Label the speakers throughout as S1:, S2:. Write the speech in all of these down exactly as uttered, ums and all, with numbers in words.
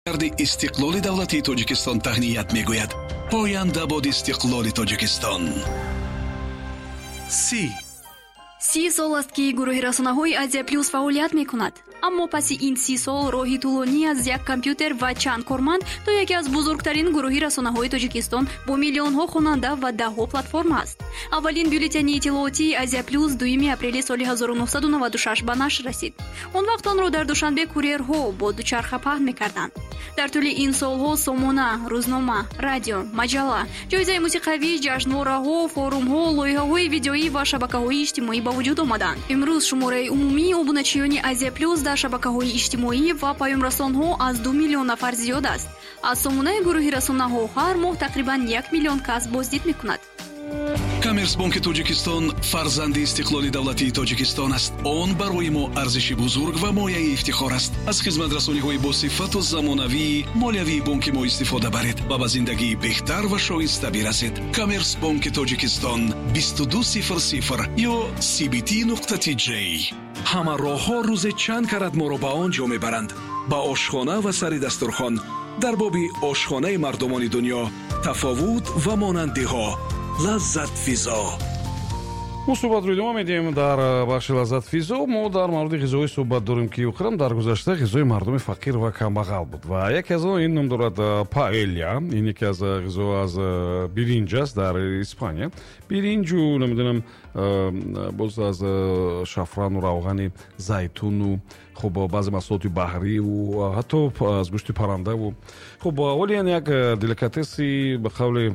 S1: Истиқлоли давлатии Тоҷикистон таҳният мегӯяд. Поянда бод истиқлоли Тоҷикистон.
S2: Си
S3: Си сол аст, ки гурӯҳи расонаҳои Азия Плюс фаъолият мекунад. Аммо паси ин си сол роҳи тӯлонӣ аз як компютер ва чанд корманд то яке аз бузургтарин гурӯҳи расонаҳои Тоҷикистон бо миллионҳо хонанда ва даҳҳо платформа аст. Аввалин бюллетени иттилоотии Азия Плюс дуюми апрели соли ҳазору нӯҳсаду наваду шаш ба нашр расид. Он вақт онро дар Душанбе курьерҳо бо дучарха паҳн мекарданд. Дар тӯли ин солҳо сомона, рӯзнома, радио, маҷалла, ҷоизаи мусиқавӣ, ҷашнвораҳо, форумҳо, лоиҳаҳои видеоӣ ва шабакаҳои иҷтимоӣ ба вуҷуд омаданд. Имрӯз шумораи умумии обуначиёни Азия Плюс дар шабакаҳои иҷтимоӣ ва паёмрасонҳо аз ду миллион нафар зиёд аст. Аз сомонаи гурӯҳи расонаҳо ҳар моҳ тақрибан як миллион кас боздид мекунад.
S1: Коммерсбонки Тоҷикистон фарзанди истиқлоли давлатии Тоҷикистон аст. Он барои мо арзиши бузург ва мояи ифтихор аст. Аз хизматрасониҳои босифату замонавии молиявии бонки мо истифода баред ва ба зиндагии беҳтар ва шоиста бирасед. Коммерсбонки Тоҷикистон, бисту ду сифр сифр ё C B T нуқта T J. Ҳама роҳҳо рӯзе чанд карат моро ба он ҷо мебаранд, ба ошхона ва сари дастурхон. Дар боби ошхонаи мардумони дунё, тафовут ва монандиҳо. Лаззатфизо.
S4: Мо суҳбатро идома медиҳем. Дар э, бахши Лаззатфизо мо дар мавриди ғизоҳое суҳбат дорем, ки охиран дар гузашта ғизои мардуми фақир ва камбағал буд. Ва яке аз он ин ном дорад э, паэлья. Ин яке аз э, ғизо аз биринҷ аст. Дар Испания биринҷу, намедонам, боз аз шафрану равғани зайтуну, хуб, баъзе маҳсулоти баҳриву ҳатто аз гӯшти паррандаву, хуб, вале ин як деликатеси, ба қавли,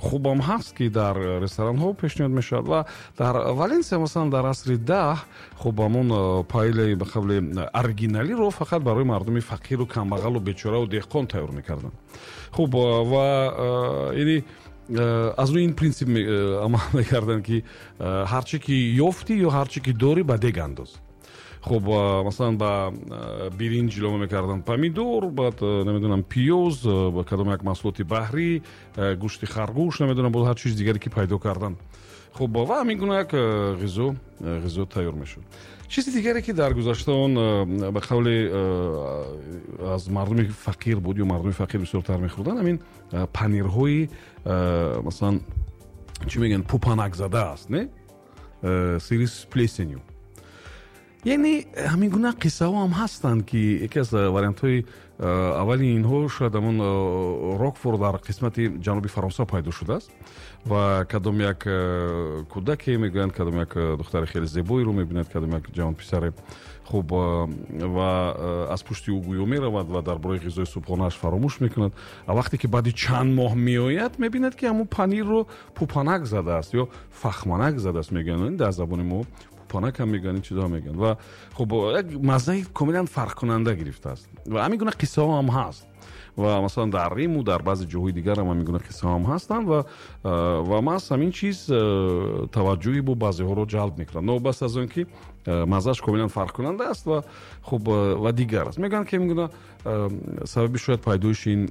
S4: хубам ҳаст, ки дар ресторанҳо пешниҳод мешавад. Ва дар Валенсия, масалан, дар асри даҳ, хуб, ҳамон паэльяи, ба қавли, оригиналиро фақат барои мардуми фақиру камбағалу бечораву деҳқон тайёр мекарданд. Хуб, ва яъне аз рӯи ин принсип амал мекарданд, ки ҳар чӣ ки ёфтӣ ё ҳар чӣ ки дорӣ, ба дег андоз. Хуб, масалан, ба биринҷ илова мекарданд помидор, баъд, намедонам, пиёз, ба кадом як маҳсулоти баҳрӣ, гӯшти харгӯш, намедонам, боз ҳар чизи дигаре, ки пайдо карданд. Хуб, ва ҳамин гуна як ғизо ғизо тайёр мешуд. Чизи дигаре, ки дар гузашта он, ба қавли, аз мардуми фақир буд ё мардуми фақир бисёртар мехӯрданд, ҳамин панирҳои, масалан, чӣ мегӯянд, пупанакзада аст, не, сыры с плесенью. Яъне ҳамин гуна қиссаҳо ҳам ҳастанд, ки яке аз вариантҳои аввали инҳо шояд ҳамон рокфор дар қисмати ҷануби Фаронса пайдо шудааст. Ва кадом як кӯдаке, мегӯянд, кадом як духтари хеле зебоеро мебинад, кадом як ҷавонписаре. Хуб, ва аз пушти ӯ гӯё меравад ва дар бораи ғизои субҳонааш фаромӯш мекунад. А вақте ки баъди чанд моҳ меояд, мебинад, ки ҳамон панирро пупанак задааст ё фахманак задааст, мегӯянд. Дар забони мо пупанак ҳам мегӯянд, ин чизо мегӯянд. Ва хуб, як маззаи комилан фарқкунанда гирифтааст. Ва ҳамин гуна қиссаҳо ҳам ҳаст. Ва масалан, дар Риму дар баъзе ҷоҳои дигар ҳам ҳамин гуна қиссаҳо ҳам ҳастанд. Ва ва маҳз ҳамин чиз таваҷҷӯҳи бо баъзеҳоро ҷалб мекунад, новобаста аз он ки маззааш комилан фарқкунанда аст ва, хуб, ва дигар аст. Мегӯянд, ки ҳамин гуна сабаби шояд пайдоиши ин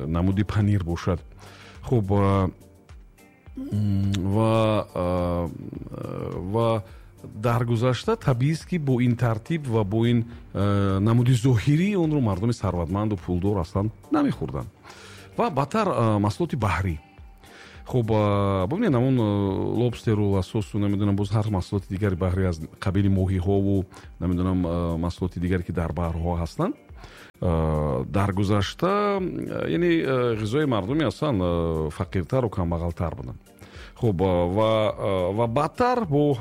S4: намуди панир бошад. Хуб, ва ва дар гузашта табиист, ки бо ин тартиб ва бо ин намуди зоҳирӣ онро мардуми сарватманду пулдор аслан намехӯрданд. Ва баъдтар маҳсулоти баҳрӣ. Хуб, бубинед, ҳамон лобстеру лососу, намедонам, боз ҳар маҳсулоти дигари баҳрӣ аз қабили моҳиҳову, намедонам, маҳсулоти дигаре, ки дар баҳрҳо ҳастанд. Дар гузашта, яъне, ғизои мардуми аслан фақиртару камбағалтар буданд. Хуб, ва ва баъдтар бо,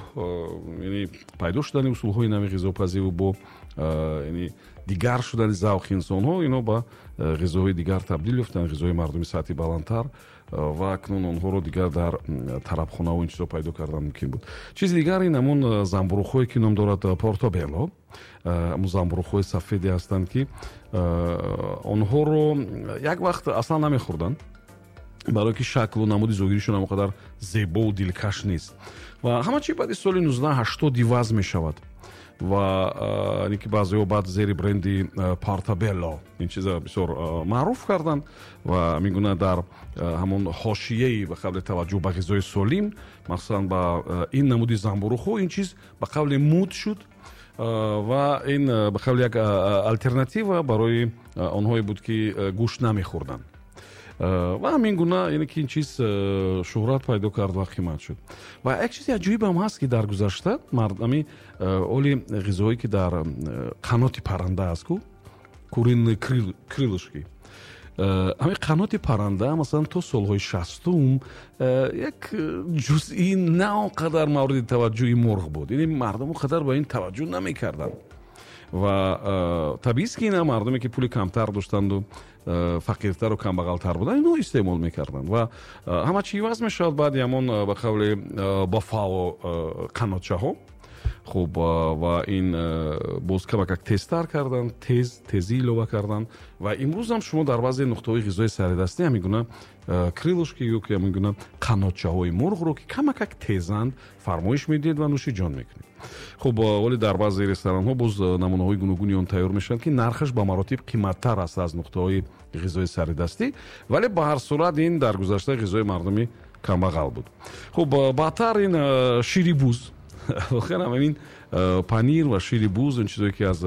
S4: яъне, пайдо шудани усулҳои нави ғизопазиву бо, яъне, дигар шудани завқи инсонҳо, ино ба ғизоҳои дигар табдил ёфтанд, ғизои мардуми сатҳи баландтар. Ва акнун онҳоро дигар дар тарабхонаву ин чизо пайдо кардан мумкин буд. Чизи дигар ин ҳамон замбуруғҳое, ки ном дорад портобелло. Ҳамон замбуруғҳои сафеде ҳастанд, ки онҳоро як вақт аслан намехӯрданд, барое ки шаклу намуди зоҳиришон он қадар зебову дилкаш нест. Ва ҳама чи баъди соли нуздаҳ ҳаштод иваз мешавад. Ва ин ки баъзеҳо баъд зери бренди Портобелло ин чиза бисёр маъруф карданд. Ва ҳамин гуна дар ҳамон ҳошияи, ба қавли, таваҷҷӯҳ ба ғизои солим, махсусан ба ин намуди замбуруғҳо, ин чиз, ба қавли, муд шуд. Ва ин ба қавли як алтернатива барои онҳое буд, ки гӯшт намехӯрданд. Ва ҳамин гуна, яъне ки ин чиз шӯҳрат пайдо кард ва қимат шуд. Ва як чизи аҷоибам ҳаст, ки дар гузашта мардами оли ғизоҳое, ки дар қаноти парранда аст, ку куриные крылышки, ҳамин қаноти парранда, масалан, то солҳои шастум як ҷузъи на он қадар мавриди таваҷҷӯҳи мурғ буд, яъне мардум он қадар ба ин таваҷҷӯҳ намекарданд. Ва табиист, ки ина мардуме, ки пули камтар доштанду фақиртару камбағалтар буданд, инҳо истеъмол мекарданд. Ва ҳама чи иваз мешавад баъди ҳамон, ба қавли бафало, қанотчаҳо. Хуб, ва ин боз камакак тезтар кардан, тез тезӣ илова кардан. Ва имрӯзам шумо дар баъзе нуқтаҳои ғизои саридастӣ ҳамин гуна крылышки ё ки ҳамин гуна қанотчаҳои мурғро, ки камакак тезанд, фармоиш медиҳед ва нӯши ҷон мекунед. Хуб, вале дар баъзе ресторанҳо боз намунаҳои гуногуни он тайёр мешаванд, ки нархаш ба маротиб қиматтар аст аз нуқтаҳои ғизои саридастӣ, вале ба ҳар сурат ин дар гузашта ғизои мардуми камбағал буд. Хуб, баъдтар ин шири буз, воқеан ҳамин панир ва шири буз, он чизое, ки аз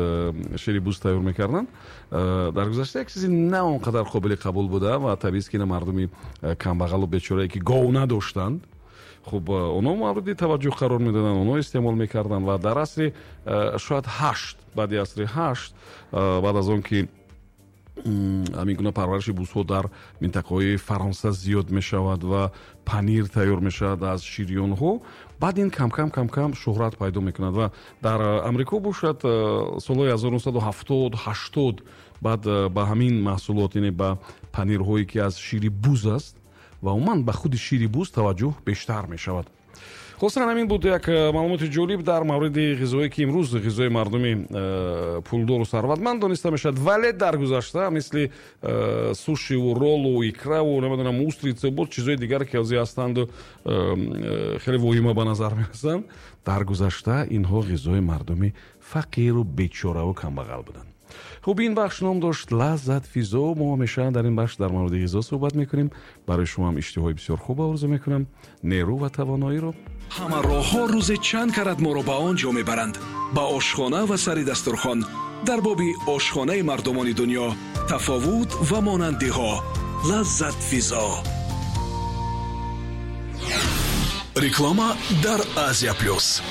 S4: шири буз тайёр мекарданд, дар гузашта як чизи на он қадар қобили қабул буда. Ва табиист, ки ина мардуми камбағалу бечорае, ки гов надоштанд, хуб, онҳо мавриди таваҷҷӯҳ қарор медоданд, онҳо истеъмол мекарданд. Ва дар асри шояд ҳашт, баъди асри ҳашт, баъд аз он ки ҳамин гуна парвариши бузҳо дар минтақаҳои Фаронса зиёд мешавад ва панир тайёр мешавад аз шири онҳо, баъд ин камкам камкам шӯҳрат пайдо мекунад. Ва дар Амрико бошад, солҳои ҳазору нӯҳсаду ҳафтод, ҳаштод, баъд ба ҳамин маҳсулот, яъне ба панирҳое, ки аз шири буз аст, ва умуман ба худи шири буз таваҷҷӯҳ бештар мешавад. Хулоса, ҳамин буд як маълумоти ҷолиб дар мавриди ғизое, ки имрӯз ғизои мардуми пулдору сарватманд дониста мешавад, вале дар гузашта мисли сушиву роллу икраву, намедонам, устрица, боз чизҳои дигар, ки ҳозир ҳастанду хеле воҳима ба назар мерасанд, дар гузашта инҳо ғизои мардуми фақиру бечораву камбағал буданд. Хуб, ин бахш ном дошт «Лаззат физо». Мо ҳамеша дар ин бахш дар мавриди ғизо суҳбат мекунем. Барои шумоам иштиҳои бисёр хуб орзу мекунам, нерӯ ва тавоноиро.
S1: Ҳама роҳҳо рӯзе чанд карат моро ба он ҷо мебаранд, ба ошхона ва сари дастурхон. Дар боби ошхонаи мардумони дунё, тафовут ва монандиҳо. «Лаззат физо». Реклама дар Азия Плюс.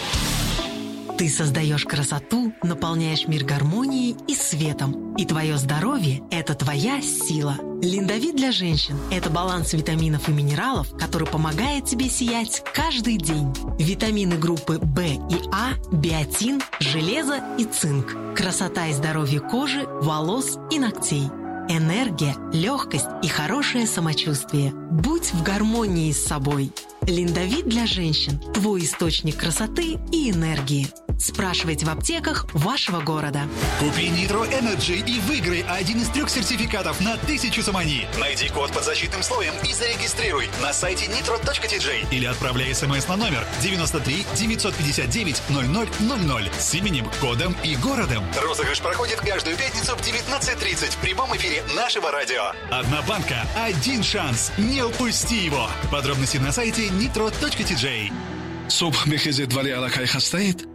S2: Ты создаешь красоту, наполняешь мир гармонией и светом. И твое здоровье – это твоя сила. Линдовит для женщин – это баланс витаминов и минералов, который помогает тебе сиять каждый день. Витамины группы В и А, биотин, железо и цинк. Красота и здоровье кожи, волос и ногтей. Энергия, легкость и хорошее самочувствие. Будь в гармонии с собой. Линдовит для женщин – твой источник красоты и энергии. Спрашивайте в аптеках вашего города.
S5: Купи Nitro Energy и выиграй один из трех сертификатов на тысячу сомони. Найди код под защитным слоем и зарегистрируй на сайте nitro точка T J или отправляй смс на номер девяносто три девятьсот пятьдесят девять ноль ноль ноль ноль с именем, кодом и городом. Розыгрыш проходит каждую пятницу в девятнадцать тридцать в прямом эфире нашего радио. Одна банка, один шанс. Не упусти его. Подробности на сайте nitro точка T J.
S1: Субҳ мехезед, вале аллакай хастаед?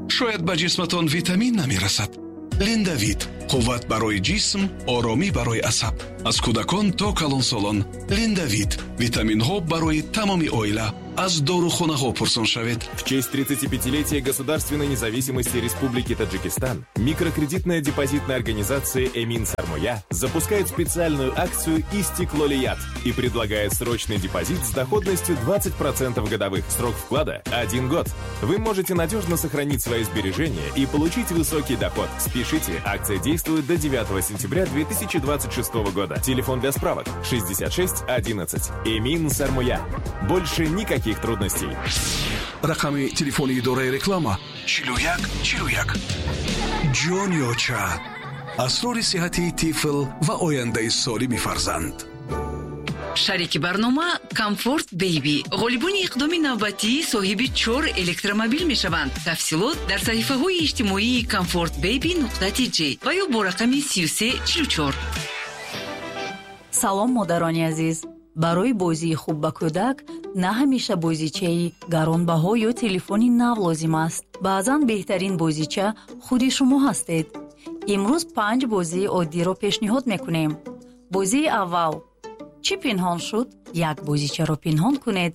S1: Шояд ба ҷисматон витамин намерасад. Линдавит: қувват барои ҷисм, оромӣ барои асаб. Аз кӯдакон то калонсолон. Линдавит: витаминҳо барои тамоми оила. Аз дорухонаҳо пурсон шавед.
S6: В честь тридцатипятилетия государственной независимости Республики Таджикистан микрокредитная депозитная организация «Эмин Сармоя» запускает специальную акцию «Истиклолият» и предлагает срочный депозит с доходностью двадцать процентов годовых. Срок вклада – один год. Вы можете надежно сохранить свои сбережения и получить высокий доход. Спешите, акция действует до девятого сентября две тысячи двадцать шестого года. Телефон для справок шестьдесят шесть одиннадцать. «Эмин Сармоя». Больше никаких трудностей.
S1: Рақами телефони идораи реклама чилу як чилу як. Ҷониоча: асрори сиҳати тифл ва ояндаи солими фарзанд.
S7: Шарики барнома Комфорт Бейби. Ғолибони иқдоми навбатӣ соҳиби чор электромобил мешаванд. Тафсилот дар саҳифаҳои иҷтимоии Комфорт Бейби нуқта тж ва ё бо рақами сию се чилу чор.
S8: Салом, модарони азиз! Барои бозии хуб ба кӯдак На ҳамеша бозичаи гаронбаҳо ё телефони нав лозим аст. Баъзан беҳтарин бозича худи шумо ҳастед. Имрӯз панҷ бозии оддиро пешниҳод мекунем. Бозии аввал: чӣ пинҳон шуд? Як бозичаро пинҳон кунед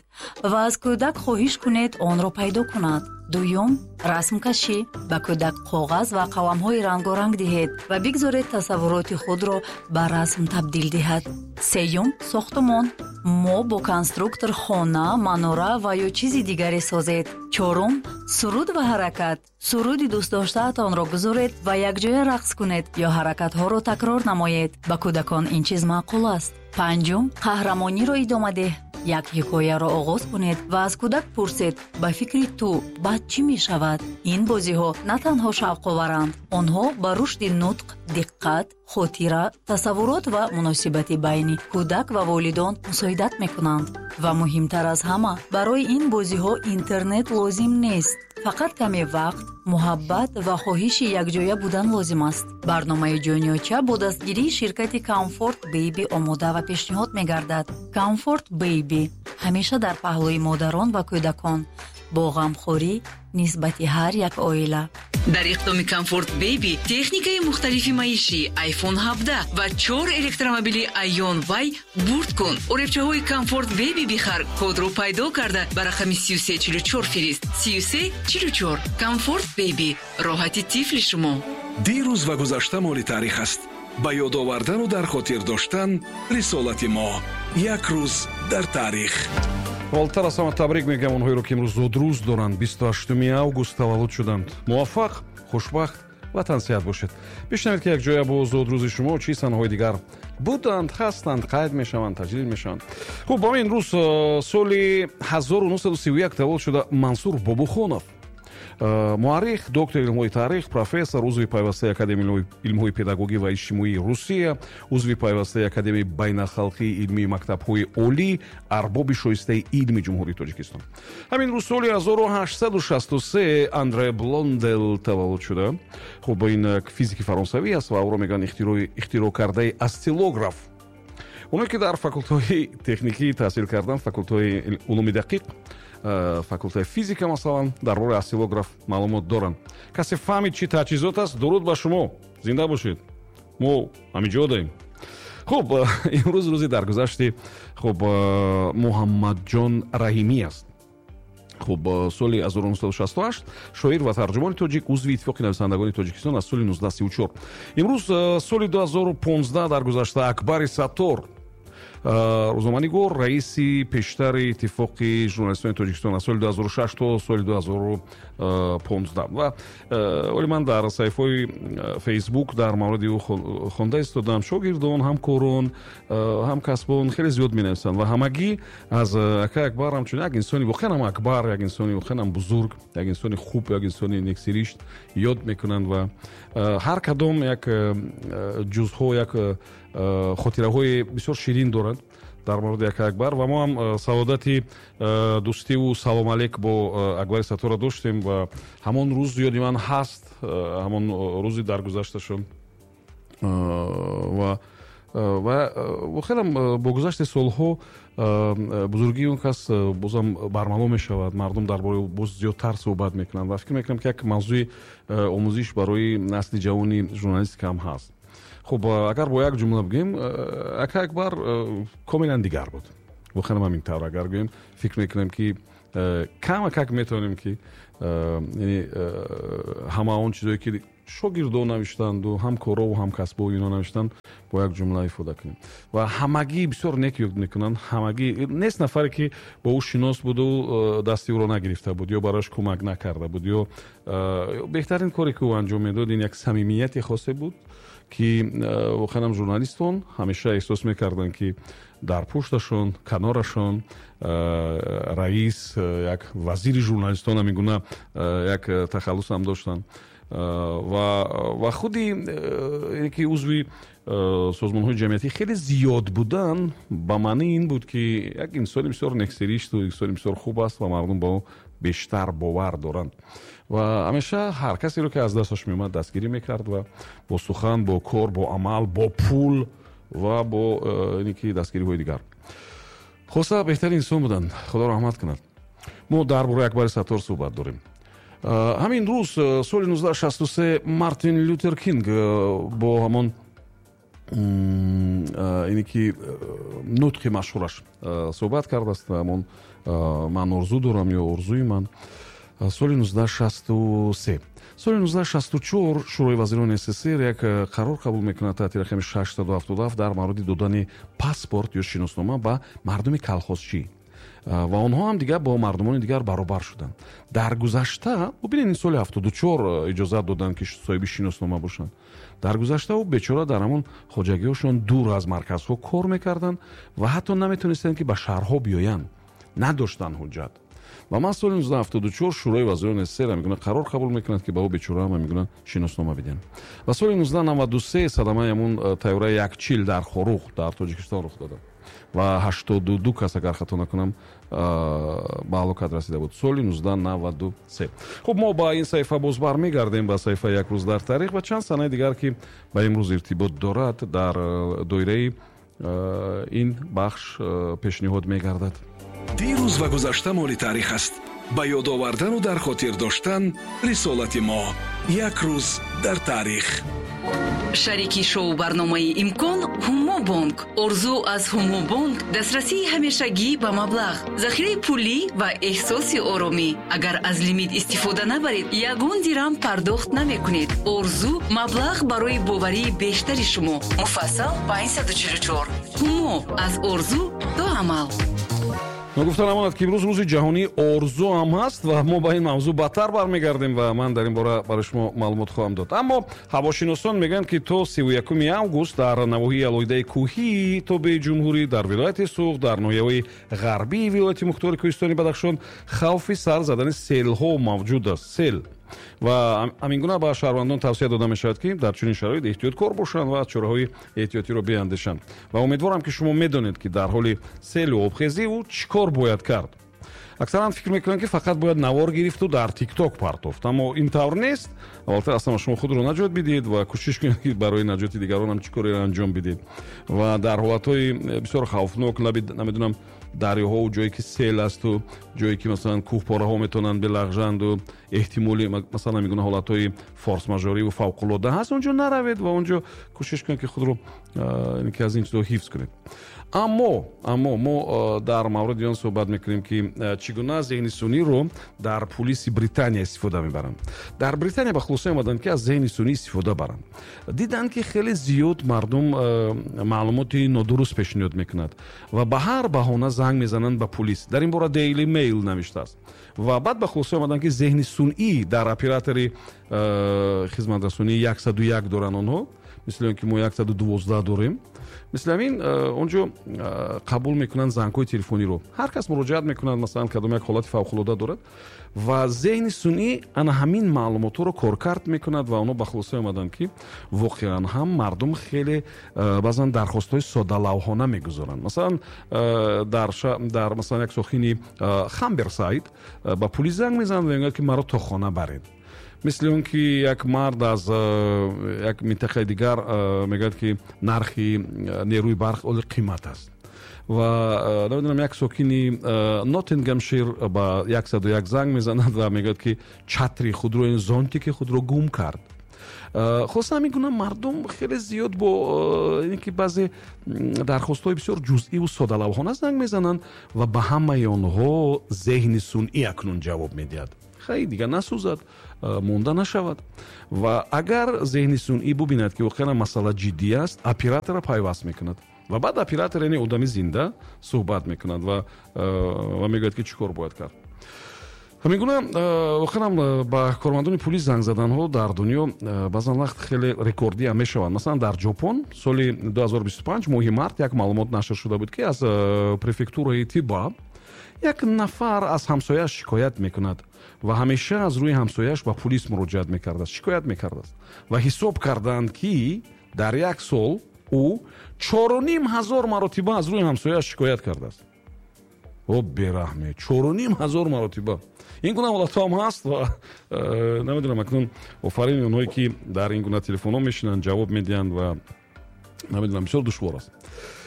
S8: ва аз кӯдак хоҳиш кунед онро пайдо кунад. Дуюм, расмкашӣ. Ба кӯдак коғаз ва қаламҳои рангоранг диҳед ва бигзоред тасаввуроти худро ба расм табдил диҳад. Сеюм, сохтумон. Мо бо конструктор хона, манора ва ё чизи дигаре созед. Чорум, суруд ва ҳаракат. Суруди дӯстдоштаатонро гузоред ва якҷоя рақс кунед ё ҳаракатҳоро такрор намоед. Ба кӯдакон ин чиз маъқул аст. Панҷум, қаҳрамониро идома деҳ. Як ҳикояро оғоз кунед ва аз кӯдак пурсед: ба фикри ту баъд чӣ мешавад? Ин бозиҳо на танҳо шавқоваранд, онҳо ба рушди нутқ, диққат, хотира, тасаввурот ва муносибати байни кӯдак ва волидон мусоидат мекунанд. Ва муҳимтар аз ҳама, барои ин бозиҳо интернет лозим нест. Фақат каме вақт, муҳаббат ва хоҳиши якҷоя будан лозим аст. Барномаи ҷониёча бо дастгирии ширкати Comfort Baby омода ва пешниҳод мегардад. Comfort Baby ҳамеша дар паҳлӯи модарон ва кӯдакон, бо ғамхорӣ нисбати ҳар як оила.
S7: Дар иқдоми Comfort Baby техникаи мухталифи маишӣ, iPhone ҳабдаҳ ва чор электромобили Ion Y бурд кун. Оребчаҳои Comfort Baby бихар, кодро пайдо карда ба рақами сию се чилу чор фирист. Сию се чилу чор. Comfort Baby роҳати тифли шумо.
S1: Дирӯз ва гузашта моли таърих аст. Ба ёд овардану дар хотир доштан рисолати мо. Як рӯз дар таърих.
S4: Аввалтар аз ҳама табрик мегӯям онҳоеро, ки имрӯз зодрӯз доранд, бисту ҳаштуми август таваллуд шуданд. Муваффақ, хушбахт ва тансиҳат бошед. Бишнавед, ки якҷоя бо зодрӯзи шумо чӣ санаҳои дигар буданд, ҳастанд, қайд мешаванд, таҷлил мешаванд. Хуб, ба ин рӯз соли ҳазору нӯҳсаду сию як таваллуд шуда Мансур Бобухонов, муаррих, доктори илмҳои таърих, профессор, узви пайвастаи Академияи илмҳои педагогӣ ва иҷтимоии Русия, узви пайвастаи Академияи байналхалқии илмии мактабҳои олӣ, арбоби шоистаи илми Ҷумҳурии Тоҷикистон. Ҳамин рӯз соли ҳазору ҳаштсаду шасту се Андре Блондел таваллуд шуда. Хуб, ин физики фаронсавӣ аст ва ӯро мегӯянд ихтироъ кардаи осциллограф. Оное ки дар факултаҳои техникӣ таҳсил карданд, факултаҳои улуми дақиқ, факултаи физика масалан, дар бораи осциллограф маълумот доранд. Касе фаҳмид чӣ таҷҳизот аст, дуруд ба шумо, зинда бошед, мо ҳаминҷо даем. Хуб, имрӯз рӯзи даргузашти хуб Муҳаммадҷон Раҳимӣ аст. Хуб, соли ҳазору нӯҳсаду шасту ҳашт шоир ва тарҷумони тоҷик, узви Иттифоқи нависандагони Тоҷикистон аз соли нуздаҳ сию чор. Имрӯз соли ду ҳазору понздаҳ даргузашта Акбари Саттор, рӯзноманигор, раиси пештари Иттифоқи журналистони Тоҷикистон аз соли ду ҳазору шаш то соли ду ҳазору понздаҳ. Ва оли ман дар саҳифаҳои Фейсбук дар мавриди ӯ хонда истодам. Шогирдон, ҳамкорон, ҳамкасбон хеле зиёд менависанд ва ҳамагӣ аз акай Акбар ҳамчун як инсони воқеан ҳам акбар, як инсони воқеан ҳам бузург, як инсони хуб, як инсони нексиришт ёд мекунанд ва ҳар кадом як ҷузъҳо, як хотираҳои бисёр ширин доранд дар мавриди акай Акбар. Ва мо ҳам саодати дӯстиву салом алейк бо Акбари Сатторро доштем ва ҳамон рӯз ёди ман ҳаст, ҳамон рӯзи даргузашташон. Ва ва воқеан бо гузашти солҳо бузургии он кас бозам бармало мешавад, мардум дар бораи ӯ боз зиёдтар суҳбат мекунанд ва фикр мекунам, ки як мавзӯи омӯзиш барои насли ҷавони журналистика ҳам ҳаст. Хуб, агар бо як ҷумла бигӯем, акай Акбар комилан дигар буд. Воқеан ҳамин тавр агар гӯем, фикр мекунам, ки камакак метавонем, ки яъне ҳама он чизое ки шогирдо навиштанду ҳамкорову ҳамкасбо ино навиштанд, бо як ҷумла ифода кунем. Ва ҳамагӣ бисёр нек ёд мекунанд. Ҳамагӣ нест нафаре, ки бо ӯ шинос буду дасти ӯро нагирифта буд ё барояш кӯмак накарда буд, ё беҳтарин коре ки ӯ анҷом медод, ин як самимияти хосе буд, ки воқеан ҳам журналистон ҳамеша эҳсос мекарданд, ки дар пушташон, канорашон раис, як вазири журналистон ҳамин гуна як тахаллус ҳам доштанд. Ва ва худи ки узви созмонҳои ҷамъиятӣ хеле зиёд будан, ба маънии ин буд, ки як инсони бисёр нексиришту инсони бисёр хуб аст ва мардум ба ӯ бештар бовар доранд. Ва ҳамеша ҳар касеро, ки аз дасташ меомад, дастгирӣ мекард ва бо сухан, бо кор, бо амал, бо пул ва бо ин ки дастгириҳои дигар. Хулоса, беҳтарин инсон буданд, Худо раҳмат кунад. Мо дар бораи Акбари Саттор суҳбат дорем. Ҳамин рӯз, соли нуздаҳ шасту се, Мартин Лютер Кинг бо ҳамон ине ки нутқи машҳураш суҳбат кардааст, ҳамон «Ман орзу дорам» ё «Орзуи ман», соли нуздаҳ шасту се. Соли нуздаҳ шасту чор Шӯрои вазирони С С С Р як қарор қабул мекунад таҳти рақами шашсаду ҳафтоду ҳафт дар мавриди додани паспорт ё шиноснома ба мардуми калхозчӣ, ва онҳо ҳам дигар бо мардумони дигар баробар шуданд. Дар гузашта, бубинед, ин соли ҳафтоду чор иҷозат доданд, ки соҳиби шиноснома бошанд. Дар гузашта ӯ бечора дар ҳамон хоҷагиҳошон дур аз марказҳо кор мекарданд ва ҳатто наметонистанд, ки ба шаҳрҳо биёянд, надоштанд ҳуҷҷат. Ва ман соли нуздаҳ ҳафтоду чор Шӯрои вазирони С С С Р мегӯянд, қарор қабул мекунад, ки ба ӯ бечора ҳама мегӯянд шиноснома бидиҳанд. Ва соли нуздаҳ наваду се садамаи ҳамон тайёраи як чил дар Хоруғ, дар Тоҷикистон рух додад ва ҳаштоду ду кас, агар хато накунам, ба ҳалокат расида буд соли нуздаҳ наваду се. Хуб, мо ба ин саҳифа боз бармегардем, ба саҳифаи «Як рӯз дар таърих» ва чанд санаи дигар, ки ба имрӯз иртибот дорад, дар доираи ин бахш пешниҳод мегардад.
S1: Дирӯз ва гузашта моли таърих аст. Ба ёд овардану дар хотир доштан рисолати мо. «Як рӯз дар таърих».
S7: Шарики шоу барномаи «Имкон» Ҳумо Бонк. Орзу аз Ҳумо Бонк: дастрасии ҳамешагӣ ба маблағ, захираи пулӣ ва эҳсоси оромӣ. Агар аз лимит истифода набаред, ягон дирам пардохт намекунед. Орзу: маблағ барои боварии бештари шумо. Муфассал панҷсаду чилу чор. Ҳумо: аз орзу то амал.
S4: Ногуфта намонад, ки имрӯз Рӯзи ҷаҳонии орзу ҳам ҳаст ва мо ба ин мавзӯъ баъдтар бармегардем ва ман дар ин бора барои шумо маълумот хоҳам дод. Аммо ҳавошиносон мегӯянд, ки то сиву якуми август дар навоҳии алоҳидаи кӯҳии тобеи ҷумҳурӣ, дар вилояти Суғд, дар ноҳияҳои ғарбии вилояти мухтори кӯҳистони Бадахшон хавфи сар задани селҳо мавҷуд аст, сел. Ва ҳамин гуна ба шаҳрвандон тавсия дода мешавад, ки дар чунин шароит эҳтиёткор бошанд ва чораҳои эҳтиётиро биандешанд. Ва умедворам, ки шумо медонед, ки дар ҳоли селу обхезӣ ӯ чӣ кор бояд кард. Аксаран фикр мекунанд, ки фақат бояд навор гирифту дар ТикТок партофт, аммо ин тавр нест. Аввалтар аз ҳама шумо худро наҷот бидиҳед ва кӯшиш кунед, ки барои наҷоти дигаронам чӣ кореро анҷом бидиҳед. Ва дар ҳолатҳои бисёр хавфнок, лаби, намедонам, дарёҳову ҷое ки сел асту ҷое ки, масалан, кӯҳпораҳо метавонанд билағжанду эҳтимоли, масалан, мегӯна ҳолатҳои форс-мажориву фавқулода ҳаст, он ҷо наравед ва он ҷо кӯшиш кунед, ки худро ки аз ин чизҳо ҳифз кунед. аммо аммо мо дар мавриди он суҳбат мекунем, ки чӣ гуна зеҳни сунъиро дар пулиси Британия истифода мебаранд. Дар Британия ба хулоса омаданд, ки аз зеҳни сунъӣ истифода баранд. Диданд, ки хеле зиёд мардум маълумоти нодуруст пешниҳод мекунад ва ба ҳар баҳона занг мезананд ба пулис. Дар ин бора Daily Mail навиштааст. Ва баъд ба хулоса омаданд, ки зеҳни сунъӣ дар оператори хизматрасонии яксаду як доранд онҳо, мисли он ки мо яксаду дувоздаҳ дорем. Мисли ҳамин он ҷо қабул мекунанд зангҳои телефониро. Ҳар кас муроҷиат мекунад, масалан, кадом як ҳолати фавқулода дорад, ва зеҳни сунъӣ ана ҳамин маълумотҳоро коркард мекунад. Ва онҳо ба хулоса омаданд, ки воқеан ҳам мардум хеле баъзан дархостҳои соддалавҳона мегузоранд. Масалан, дар дар масалан, як сокини Хамберсайд ба пулис занг мезанад ва мегӯяд, ки маро то хона баред. Мисли он ки як мард аз як минтақаи дигар мегӯяд, ки нархи нерӯи барқ оли қимат аст. Ва, намедонам, як сокини Ноттингамшир ба яксаду як занг мезанад ва мегӯяд, ки чатри худро, зонтики худро гум кард. Хулоса, ҳамин гуна мардум хеле зиёд бо ин ки баъзе дархостҳои бисёр ҷузъиву соддалавҳона занг мезананд ва ба ҳамаи онҳо зеҳни сунъӣ акнун ҷавоб медиҳад. Хай, дигар насӯзад, монда нашавад. Ва агар зеҳни сунъӣ бубинад, ки воқеан масъала ҷиддӣ аст, оператора пайваст мекунад ва баъд оператор, яъне одами зинда, суҳбат мекунад ва ва мегӯяд, ки чӣ кор бояд кард. Ҳамин гуна воқеан ба кормандони пулис занг заданҳо дар дунё баъзан вақт хеле рекордиам мешаванд. Масалан, дар Ҷопон соли ду ҳазору бисту панҷ моҳи март як маълумот нашр шуда буд, ки аз префектураи Тиба як нафар аз ҳамсояаш шикоят мекунад ва ҳамеша аз рӯи ҳамсояаш ба пулис муроҷиат мекардааст, шикоят мекардааст. Ва ҳисоб карданд, ки дар як сол ӯ чору ним ҳазор маротиба аз рӯи ҳамсояаш шикоят кардааст. О, бераҳме, чору ним ҳазор маротиба! Ин гуна ҳолатҳо ҳам ҳаст. Ва э, намедонам, акнун офарин онҳое, ки дар ин гуна телефонҳо мешинанд, ҷавоб медиҳанд ва Намедонам, бисёр душвор аст.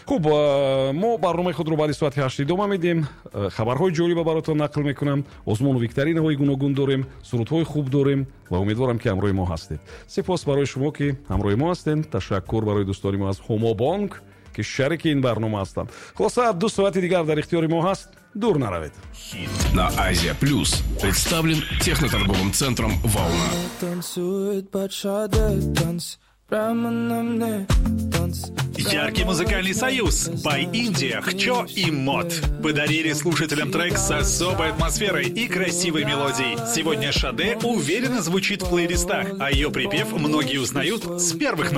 S4: Хуб, мо барномаи худро баъди соати ҳашт идома медиҳем. Хабарҳои ҷолиба баротон нақл мекунам, озмуну викторинаҳои гуногун дорем, сурудҳои хуб дорем ва умедворам, ки ҳамроҳи мо ҳастед. Сипос барои шумо, ки ҳамроҳи мо ҳастед. Ташаккур барои дӯстони мо аз Ҳумобонк, ки шарики ин барнома ҳастанд. Хулоса, ду соати дигар дар ихтиёри мо ҳаст, дур наравед.
S1: На Азия Плюс представлен техноторговым центром «Волна».
S9: Танцует под Шаде танц прямо на мне танц.
S5: Яркий музыкальный союз By India, Хчо и Мод подарили слушателям трек с особой атмосферой и красивой мелодией. Сегодня Шаде уверенно звучит в плейлистах, а ее припев многие узнают с первых нот.